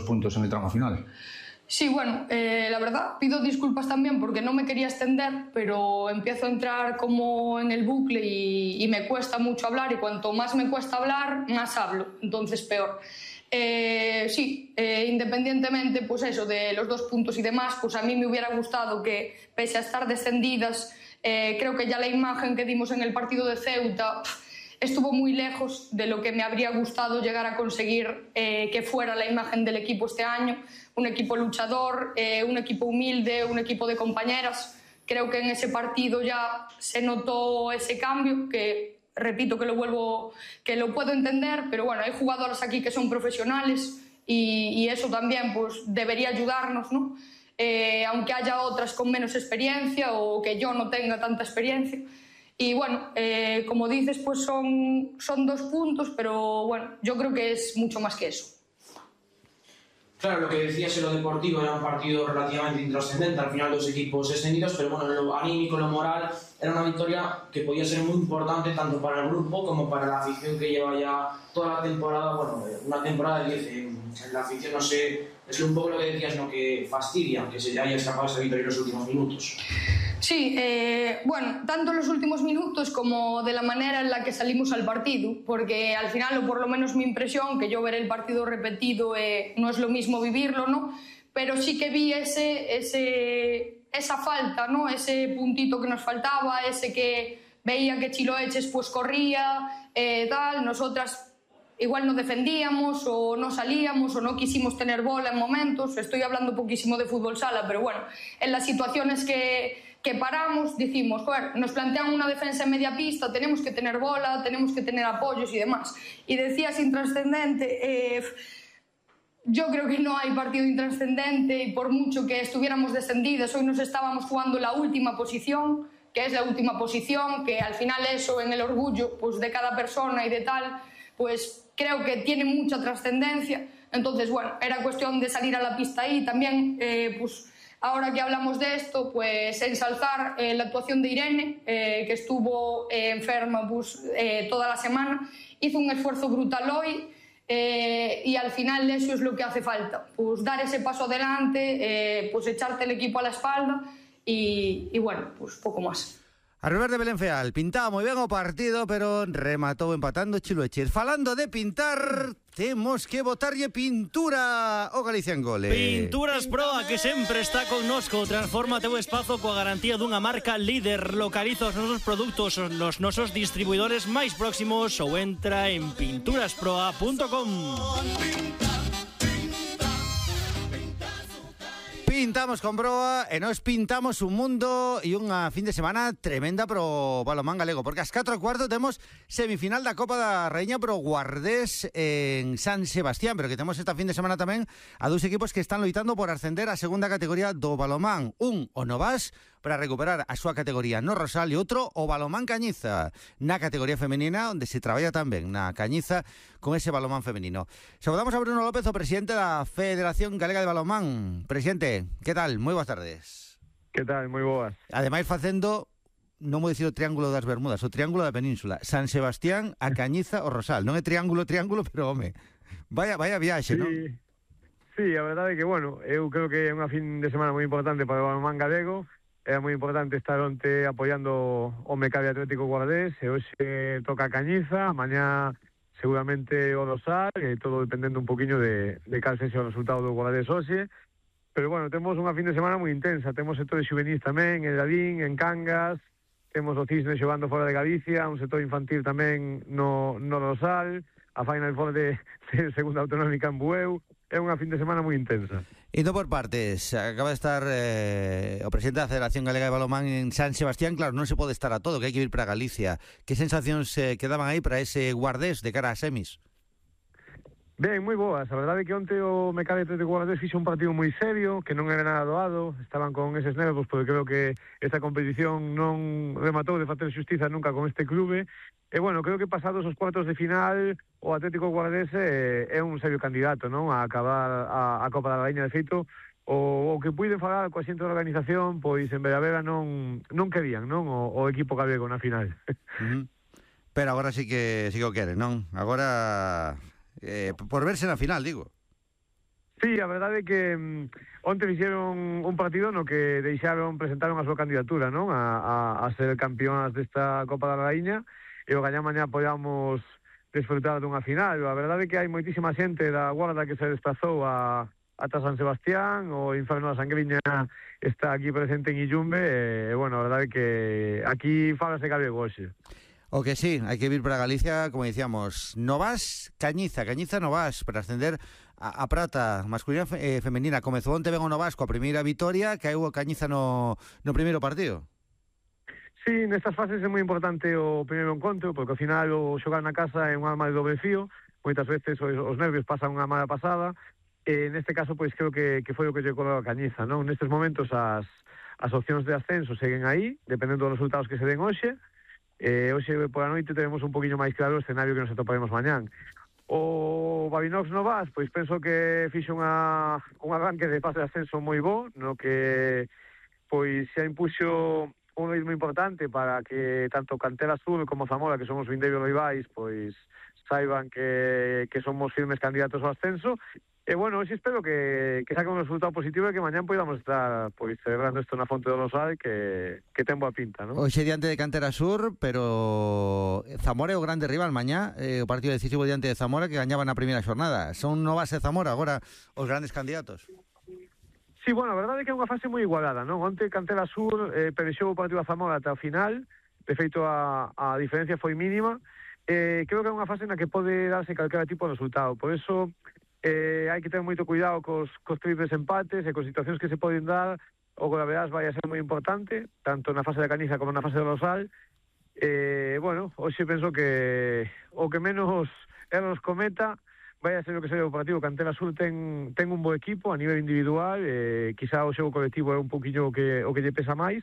puntos en el tramo final. Sí, bueno, la verdad, pido disculpas también porque no me quería extender, pero empiezo a entrar como en el bucle y me cuesta mucho hablar, y cuanto más me cuesta hablar, más hablo, entonces peor. Sí, independientemente pues eso, de los 2 puntos y demás, pues a mí me hubiera gustado que, pese a estar descendidas, creo que ya la imagen que dimos en el partido de Ceuta estuvo muy lejos de lo que me habría gustado llegar a conseguir que fuera la imagen del equipo este año. Un equipo luchador, un equipo humilde, un equipo de compañeras. Creo que en ese partido ya se notó ese cambio, que repito que lo puedo entender, pero bueno, hay jugadoras aquí que son profesionales y eso también pues debería ayudarnos, ¿no? Aunque haya otras con menos experiencia o que yo no tenga tanta experiencia. Y bueno, como dices, pues son 2 puntos, pero bueno, yo creo que es mucho más que eso. Claro, lo que decías en lo deportivo era un partido relativamente intrascendente, al final 2 equipos extendidos, pero bueno, en lo anímico, en lo moral, era una victoria que podía ser muy importante tanto para el grupo como para la afición que lleva ya toda la temporada, bueno, una temporada de 10. En la afición, no sé, es un poco lo que decías, ¿no? Que fastidia que se haya escapado esa victoria en los últimos minutos. Sí, bueno, tanto en los últimos minutos como de la manera en la que salimos al partido, porque al final, o por lo menos mi impresión, que yo ver el partido repetido no es lo mismo vivirlo, ¿no? Pero sí que vi esa falta, ¿no? Ese puntito que nos faltaba, ese que veía que Chiloeches pues corría, tal, nosotras igual no defendíamos o no salíamos o no quisimos tener bola en momentos. Estoy hablando poquísimo de fútbol sala, pero bueno, en las situaciones que paramos, dijimos, joder, nos plantean una defensa en media pista, tenemos que tener bola, tenemos que tener apoyos y demás. Y decías intrascendente, yo creo que no hay partido intrascendente, y por mucho que estuviéramos descendidas, hoy nos estábamos jugando la última posición, que es la última posición, que al final eso en el orgullo pues, de cada persona y de tal, pues creo que tiene mucha trascendencia. Entonces, bueno, era cuestión de salir a la pista ahí. También, pues ahora que hablamos de esto, pues ensalzar la actuación de Irene, que estuvo enferma pues, toda la semana. Hizo un esfuerzo brutal hoy y al final eso es lo que hace falta. Pues dar ese paso adelante, pues echarte el equipo a la espalda y bueno, pues poco más. A Rivers de Belén Feal pintaba moi ben o partido, pero rematou empatando Chiloeches. Falando de pintar, temos que botarlle pintura ao Galicia en Gole. Pinturas Proa, que sempre está connosco. Transforma teu espazo coa garantía dunha marca líder. Localiza os nosos produtos nos nosos distribuidores máis próximos ou entra en pinturasproa.com. Pintamos con Broa e nos pintamos un mundo e unha fin de semana tremenda pro balonmán galego, porque ás 4:15 temos semifinal da Copa da Raíña pro Guardés en San Sebastián, pero que temos esta fin de semana tamén a 2 equipos que están loitando por ascender á segunda categoría do balonmán. Un, o Novas, para recuperar a súa categoría no Rosal, e outro, o balonmán Cañiza, na categoría femenina, onde se traballa tamén na Cañiza con ese balonmán femenino. Saludamos a Bruno López, o presidente da Federación Galega de Balonmán. Presidente, que tal? Moi boas tardes. Que tal? Moi boas. Ademais facendo, non vou dicir o Triángulo das Bermudas, o Triángulo da Península, San Sebastián, a Cañiza, o Rosal. Non é triángulo, pero home, vaya viaxe, sí, non? Sí, a verdade é que, bueno, eu creo que é unha fin de semana moi importante para o balonmán galego. É moi importante estar onte apoiando o Mecabi Atlético Guardés, e hoxe toca a Cañiza, mañá seguramente o Rosal, e todo dependendo un poquinho de cal sexa o resultado do Guardés hoxe. Pero bueno, temos unha fin de semana moi intensa, temos sectores juvenis tamén, en Ladín, en Cangas, temos o Cisne xogando fora de Galicia, un sector infantil tamén no Rosal, a Final Four de segunda autonómica en Bueu. É unha fin de semana moi intensa. Indo por partes, acaba de estar o presidente da Federación Galega de Balonmán en San Sebastián. Claro, non se pode estar a todo, que hai que ir para Galicia. Que sensacións quedaban aí para ese Guardés de cara a semis? Ben, moi boas. A verdade é que onte o Mecabi Atlético Guardés fixo un partido moi serio, que non era nada doado, estaban con eses nervos, porque creo que esta competición non rematou de facer xustiza nunca con este clube. E bueno, creo que pasados os cuartos de final, o Atlético Guardés é un serio candidato, non, a acabar a Copa da Raíña. De feito, o que puiden falar coa xente da organización, pois en Veravera non querían, non, o equipo galego na final. Pero agora sí que o queren, non? Agora por verse na final, digo. Sí, a verdade é que onte fixeron un partido no que presentaron a súa candidatura, non? A ser campeonas desta Copa da Raíña, e o gañá mañá podamos desfrutar dunha final. A verdade é que hai moitísima xente da Guarda que se desplazou ata San Sebastián, o Inferno da Sangriña está aquí presente en Illumbe, e, bueno, a verdade é que aquí fálase galego hoxe. O que sí, hai que vir para Galicia, como dicíamos, Novas, Cañiza Novas, para ascender a prata masculina e femenina. Comezou onte ben o Novas coa primeira vitoria, que hai o Cañiza no primeiro partido. Sí, nestas fases é moi importante o primeiro encontro, porque ao final o xogar na casa é un arma de doble fío, moitas veces os nervios pasan unha mala pasada, e neste caso pois creo que foi o que lle colou a Cañiza, non? Nestes momentos as opcións de ascenso seguen aí, dependendo dos resultados que se den hoxe, hoxe por a noite teremos un poquinho máis claro o escenario que nos atoparemos mañán. O Babinox Novas, pois penso que fixe un arranque de fase de ascenso moi bo, no que pois xa impuxo un ritmo importante para que tanto Cantera Sur como Zamora, que somos vindeiros rivais, pois saiban que somos firmes candidatos ao ascenso. E bueno, hoxe espero que saque un resultado positivo e que mañán podamos estar pois celebrando isto na Fonte do Rosal, que ten boa pinta, non? Hoxe diante de Cantera Sur, pero Zamora é o grande rival mañá, o partido decisivo diante de Zamora, que gañaba na primeira xornada. Son Novas e Zamora agora os grandes candidatos. Sí, bueno, a verdade é que é unha fase moi igualada, non? Onte Cantera Sur perexou o partido a Zamora ata o final, de feito a diferencia foi mínima. Creo que é unha fase na que pode darse calquera tipo de resultado, por eso hai que ter moito cuidado cos triples empates e cos situacións que se poden dar. O Golaveras vai a ser moi importante, tanto na fase da Cañiza como na fase do Rosal. Bueno, hoxe penso que o que menos erros cometa vai a ser o que seja o partido. Cantera Sur ten un bo equipo a nivel individual, quizá o xogo colectivo é un poquinho o que lle pesa máis,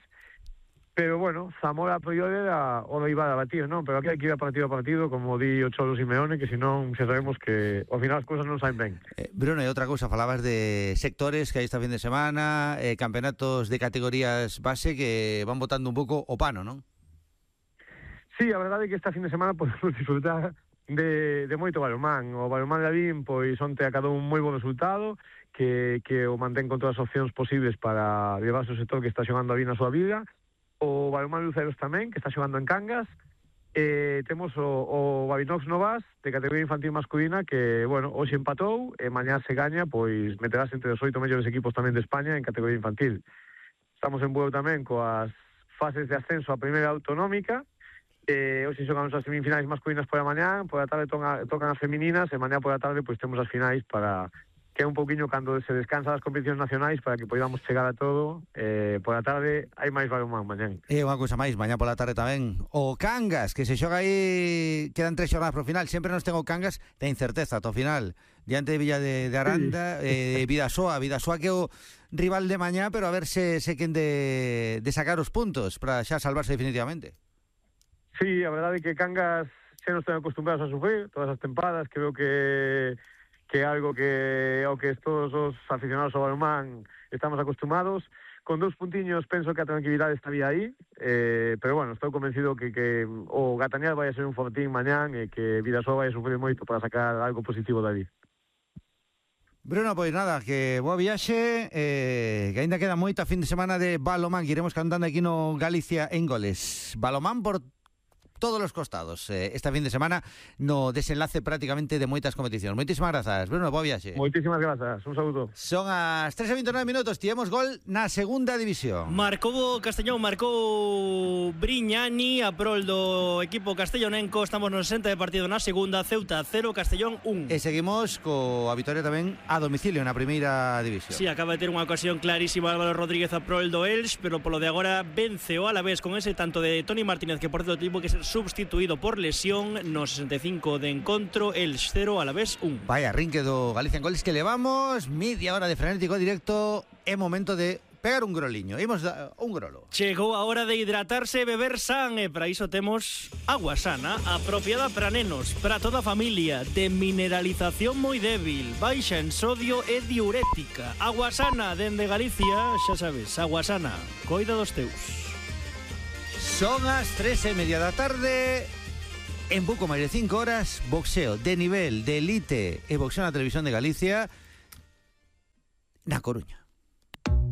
pero bueno, Zamora a priori era o rival a batir, non? Pero aquí hai que ir a partido, como di o Cholo Simeone, que senón xa sabemos que ao final as cousas non saen ben. Bruno, e outra cousa, falabas de sectores que hai esta fin de semana, campeonatos de categorías base que van botando un pouco o pano, non? Sí, a verdade é que esta fin de semana podemos disfrutar de moito balonmán. O balonmán de Lavín, pois onte acadou un moi bon resultado, que o mantén con todas as opcións posibles para levarse o sector que está xogando a Lavín na súa vida. O balonmán Luceros tamén, que está xogando en Cangas. Temos o Babinox Novas, de categoría infantil masculina, que, bueno, hoxe empatou, e mañá se gaña, pois meterás entre os 8 mellores equipos tamén de España en categoría infantil. Estamos en Bueu tamén coas fases de ascenso a primeira autonómica. Hoxe xogamos as semifinais masculinas por a mañá, por a tarde tocan as femininas, e mañá por a tarde pois temos as finais para que é un poquinho cando se descansa das competicións nacionais para que podamos chegar a todo. Por a tarde hai máis balonmán mañán. E unha cousa máis, mañá pola tarde tamén o Cangas, que se xoga aí, quedan 3 xornadas pro final, sempre nos ten o Cangas de incerteza ata o final, diante de Villa de Aranda, Vidasoa que é o rival de mañá, pero a ver se quen de sacar os puntos para xa salvarse definitivamente. Sí, a verdade é que Cangas xa nos ten acostumbrados a sufrir todas as tempadas. Creo que é algo que ao que todos os aficionados ao balonmán estamos acostumados. Con 2 puntiños penso que a tranquilidade estaría aí, pero bueno, estou convencido que o Gatañal vai a ser un fortín mañán e que Vidasoa vai a sufrir moito para sacar algo positivo dali. Bruno, pois nada, que boa viaxe, que ainda queda moita fin de semana de balonmán, que iremos cantando aquí no Galicia en Goles. Balonmán por todos os costados, esta fin de semana no desenlace prácticamente de moitas competicións. Moitísimas grazas, Bruno, boa viaxe. Moitísimas grazas, un saúdo. Son as 3:29 minutos, tivemos gol na segunda división. Marcou Castellón, marcou Briñani a prol do equipo castellonenco. Estamos no 60 de partido na segunda, Ceuta 0, Castellón 1. E seguimos coa vitoria tamén a domicilio na primeira división. Sí, acaba de ter unha ocasión clarísima Álvaro Rodríguez a prol do Elx, pero polo de agora vence o Alavés con ese tanto de Toni Martínez, que por certo tivo que ser substituído por lesión no 65 de encontro. Elx 0, Alavés 1. Vaya rinque do Galicia en Goles, que levamos media hora de frenético directo. É momento de pegar un groliño. Imos un grolo. Chegou a hora de hidratarse e beber san, e para iso temos agua sana, apropiada para nenos, para toda a familia, de mineralización moi débil, baixa en sodio e diurética. Agua sana dende Galicia, xa sabes, agua sana, coida dos teus. Son as 3:30 da tarde. En pouco máis de 5 horas, boxeo de nivel, de elite e boxeo na televisión de Galicia. na Coruña.